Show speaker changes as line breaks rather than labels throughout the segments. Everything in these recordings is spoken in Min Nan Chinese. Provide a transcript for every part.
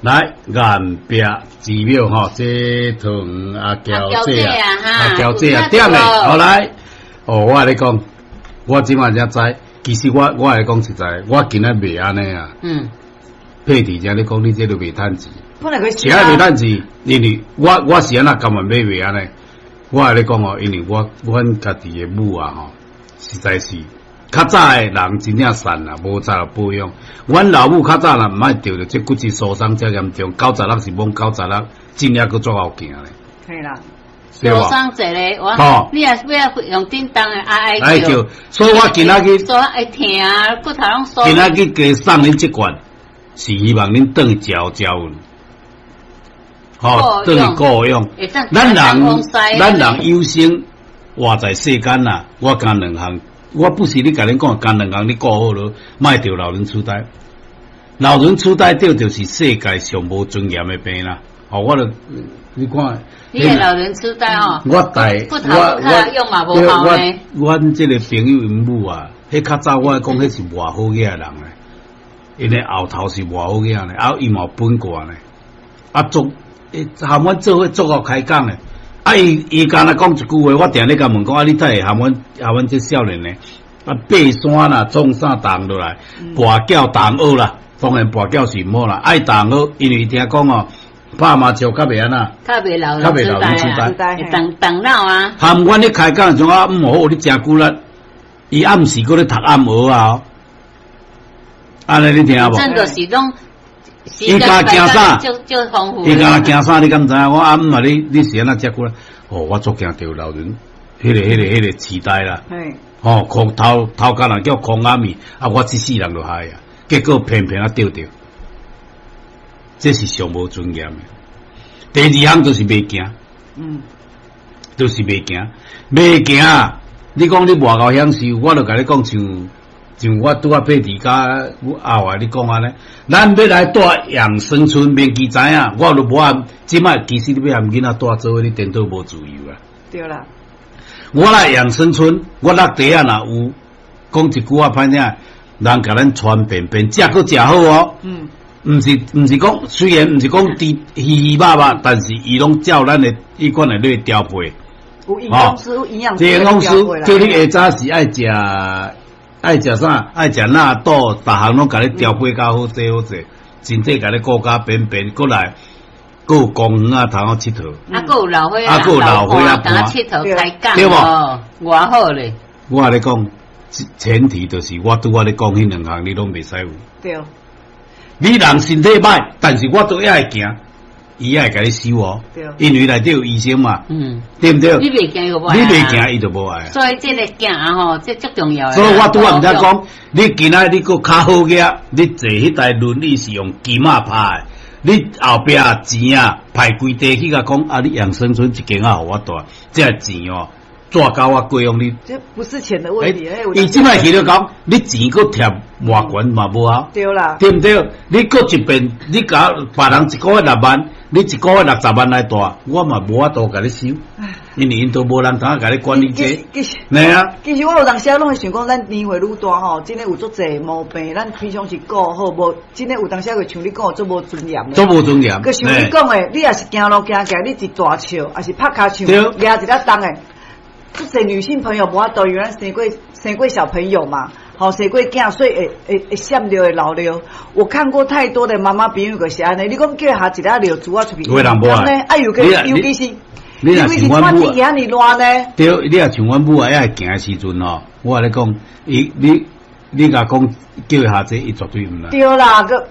來岩壁寺廟吼，這桃園阿嬌姐啊，阿嬌姐啊，點的，好來，哦，我共你講，我這擺才知，其實我來講實在，我今仔袂按呢啊。佩蒂遮咧講，你這都袂趁錢。
本來佢
是愛袂趁錢，因為我是按怎甘願買袂按呢？我共你講哦，因為我阮家己的母啊吼，實在是較早的人真正善啦，無早就保養。阮老母較早若毋愛著著這骨質疏鬆遮嚴重，96是罔96，真正閣足𠢕行咧。
嘿啦，
疏鬆一个，我你若欲用振動的愛
愛叫，所以我今仔日
所以會疼，骨頭攏酥。
今仔日加送恁這罐，是希望恁轉去食食有。吼，轉去顧養。咱人有生活在世間啊，我干兩項，我不是咧共恁講，干兩項你顧好囉，莫著老人痴呆。老人痴呆著就是世界上無尊嚴的病啦。吼，我著你看，
你的老人痴呆哦，
我帶
骨頭較用嘛無效呢。
阮這个朋友𪜶母啊，彼較早我講彼是偌好額的人咧，𪜶的後頭是偌好額咧，啊伊嘛有本過咧，啊足。含阮做伙足夠開講的，啊伊伊敢若講一句話，我定咧共問講啊，你哪會含阮含阮這少年的？啊爬山啦，創啥動落來，跋筊逐項學啦，當然跋筊是毋好啦，愛逐項學，因為聽講哦，拍麻將較袂按怎，
較袂老人痴呆，會動動腦啊。
含阮咧開講時陣啊，毋好，你誠久力，伊暗時閣咧讀暗號啊，按呢你聽無？
真就是攏。
伊敢驚啥？伊敢驚啥？你敢知影？我阿姆啊，你是按怎遮久咧？哦，我足驚著老人，彼个痴呆啦。吼，空頭頭殼若叫空阿米，啊，我這世人就害啊。結果偏偏啊著著，這是上無尊嚴的。第二項就是袂驚，就是袂驚，袂驚。你講你偌夠享受，我就共你講像。像我拄仔佩蒂佮阿華你講按呢，咱欲來蹛養生村，免記知影，我都無按。這擺其實你欲和囡仔蹛做伙，你顛倒無自由啊。
對啦。
我來養生村，我落地仔若有講一句話歹聽，人共咱傳便便，食閣食好哦。毋是講，雖然毋是講豬魚魚肉肉，但是伊攏照咱的彼款的咧調配。
有營養師，有營養師。
營養師叫你下早時愛食。愛食啥？愛食納豆，逐項攏共你調配較好勢好勢，身體共你顧甲便便，閣來閣有公園仔通好𨑨迌。
啊，閣有老歲仔，
啊，閣有老歲仔
伴𨑨迌開講，
對無？
偌好咧！
我共你講，前提就是我拄仔咧講彼兩項，你攏袂使有。
對。
你人身體歹，但是我都猶會行。伊也會共你收哦，因為內底有醫生嘛，對毋對？
你袂行伊就無愛。
你袂行伊就無愛。
所以這个行吼，這足重要。
所以我拄仔毋才講，你今仔你閣較好額，你坐彼台輪椅是用金仔拍的，你後壁錢啊排規地去共講啊，你養生村一間仔予我蹛，這錢哦，紙膠我過用你。
這不是錢的問題。
伊這擺去了講，你錢閣貼偌懸嘛無效。
對啦。
對毋對？你閣一遍，你共別人一個月6萬，你一個月60萬來蹛，我嘛無法度共你收，因為𪜶都無人通共你管理這。
其實，
嘿啊。
其實我有當時攏會想講，咱年歲愈大吼，真的有足濟毛病，咱平常時顧好，無真的有當時會像你講的足無尊嚴的。
足無尊嚴。
閣像你講的，你若是行路行起來，你一大笑，抑是拍跤手，舉一粒重的，足濟女性朋友無法度，因為咱生過小朋友嘛。吼，生過囝，所以會閃尿會流尿。我看過太多的媽媽朋友就是按呢，你講叫伊下一粒尿珠仔出去，
有的人無愛。
啊，尤其是，尤其是穿天氣遐爾熱呢。
對，你若像阮母啊，猶會行的時陣吼，我共你講，伊你你共講叫伊下這，伊絕對毋來。
對啦，閣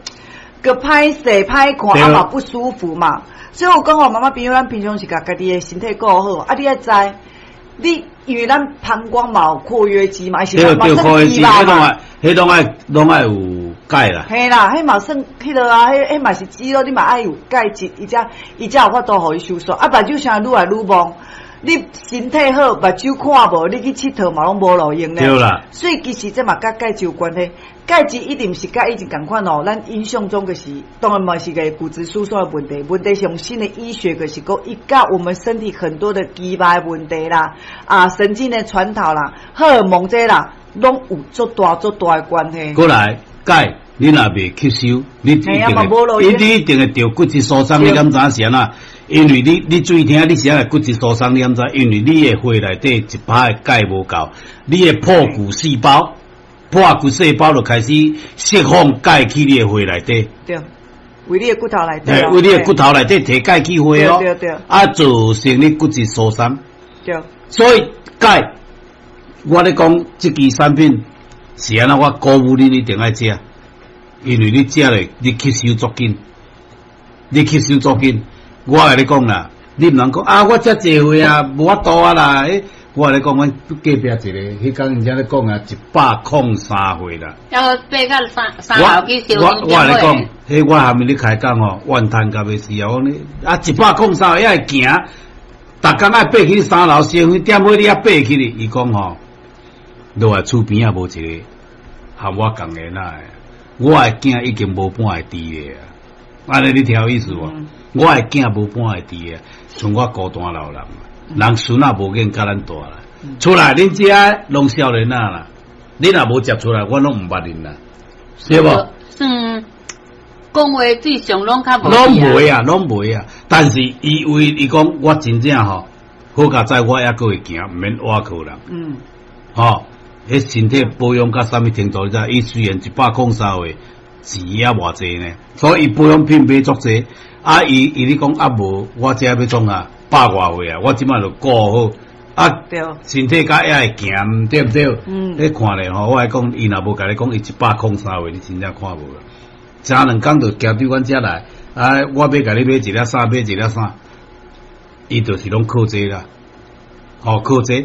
閣歹勢歹看，啊嘛不舒服嘛。所以我講吼，媽媽朋友，咱平常時共家己的身體顧好，啊，你愛知。你因為咱膀胱嘛有括約肌嘛，是嘛算肌肉嘛。
彼攏愛攏愛有鈣啦。
嘿啦，彼嘛算彼落啊，彼彼嘛是肌肉，你嘛愛有鈣質，伊才有法度予伊收縮。啊，目睭啥愈來愈蒙，你身體好，目睭看無，你去𨑨迌嘛攏無路用咧。
對啦。
所以其實這嘛佮鈣質有關係。鈣質一定毋是佮以前仝款哦，咱印象中就是當然嘛是個骨質疏鬆的問題，問題是用新的醫學就是講，伊佮我們身體很多的肌肉的問題啦，啊神經的傳導啦，荷爾蒙這啦，攏有足大足大的關係。
過來，鈣。你若袂吸收，你一定會，你一定會著骨質疏鬆。你敢知影是按怎？因為你注意聽，你是按怎骨質疏鬆？你敢知？因為你的血內底一趴的鈣無夠，你的破骨細胞，破骨細胞就開始釋放鈣去你的血內底。
對，為你的骨頭內底。
為你的骨頭內底提鈣去血哦。
對對。
啊，造成你骨質疏鬆。
對。
所以鈣，我咧講這支產品是按怎？我鼓舞你一定愛食。因為你食咧，你吸收足緊，你吸收足緊。我共你講啦，你毋通講啊！我遮濟歲啊，無法度啊啦。欸，我共你講，阮隔壁一個，彼工𪜶遮咧講啊，103歲啦。
要爬到三樓去燒。
我共你講，彼我下面咧開講吼，怨嘆甲欲死啊！我講你啊，103歲猶會行，逐工愛爬去三樓燒香點火，你猶爬起去？伊講吼，落來厝邊仔無一個和我仝个那個。我的囝已經無半會佇咧啊！按呢你聽有意思無？我的囝無半會佇咧，像我孤單老人，人孫仔無見較咱大啦。出來恁遮攏少年仔啦，你若無接出來，我攏毋捌恁啦，對無？
算講話對象攏較無。
攏袂啊，攏袂啊！但是伊為伊講，我真正吼，好佳哉，我猶閣會行，毋免倚靠人。吼。彼身體保養到啥物程度？你知？伊雖然103歲，錢也偌濟呢，所以伊保養品買足濟。啊，伊咧講啊無，我這欲創啊？百外歲啊，我這擺就顧好。啊，身體較猶會行，對毋對？你看咧吼，我來講，伊若無共你講，伊103歲，你真正看無啦。前兩工就行對阮遮來，啊，我欲共你買一粒啥，買一粒啥，伊就是攏靠這啦，吼，靠這。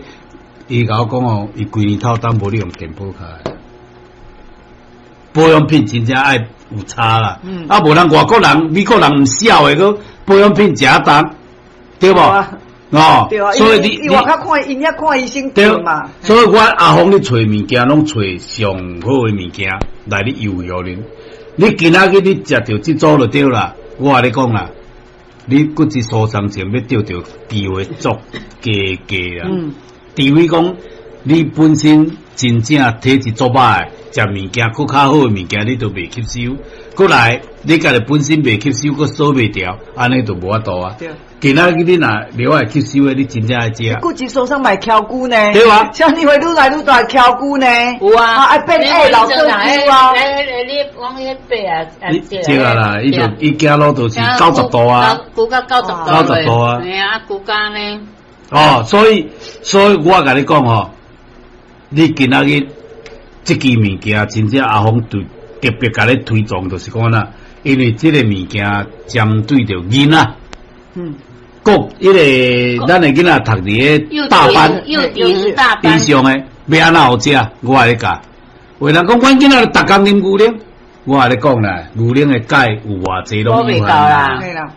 伊共我講哦，伊規年透冬無咧用健保卡，保養品真正愛有差啦。啊，無人外國人、美國人毋痟的，閣保養品誠重，對無？哦，
對啊，
所以你
伊外口看，𪜶遐看醫生
對
嘛。
所以我阿峰咧揣物件，攏揣上好的物件來咧優惠恁。你今仔日你食著這組就對啦。我共你講啦，你骨質疏鬆症欲著著機會足低低啦。除非講你本身真正體質足歹，食物件閣較好的物件，你都袂吸收。閣來，你家己本身袂吸收，閣掃袂掉，按呢就無法度啊。今仔日你若了會吸收的，你真正愛食。
骨質疏鬆嘛會翹骨呢？
對啊。
像你會愈來愈大翹骨呢？
有啊。
啊，變矮老做骨啊。
來來，你往彼爬啊！
這個啦，伊就伊行路就是90度啊。
骨到90度。
90度啊。
嘿啊，骨架呢？
哦，所以我共你講吼，你今仔日這支物件真正阿峰對特別共你推崇，就是講啦，因為這個物件針對著囡仔，閣彼個咱的囡仔讀佇个大班以上的，欲按怎予食？我共你教。有人講，阮囡仔逐工啉牛奶，我共你講啦，牛奶的鈣有偌濟攏有限啦。